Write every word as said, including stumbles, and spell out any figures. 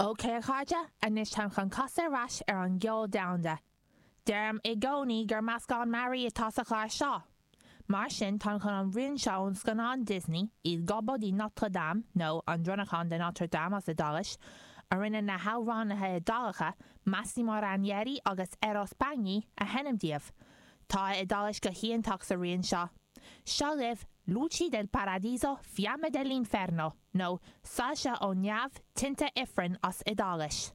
Ok a chairde, anois táim chun casadh ar ais ar an gceol domhanda. Deirim i gcónaí gur meascán mearaí atá sa chlár seo. Mar sin táim chun an rian seo ón scannán Disney Il Gobbo di Notre Dame nó an Dronnachán de Notre Dame as Iodáilis, a rinne na hamhránaithe Iodálacha Massimo Ranieri agus Eros Bagni a sheinm daoibh. Tá Iodáilis go hiontach sa rian seo. Seo libh Luci del Paradiso Fiamme dell'Inferno nó Soilse ó Neamh Tinte Ifrinn as Iodáilis.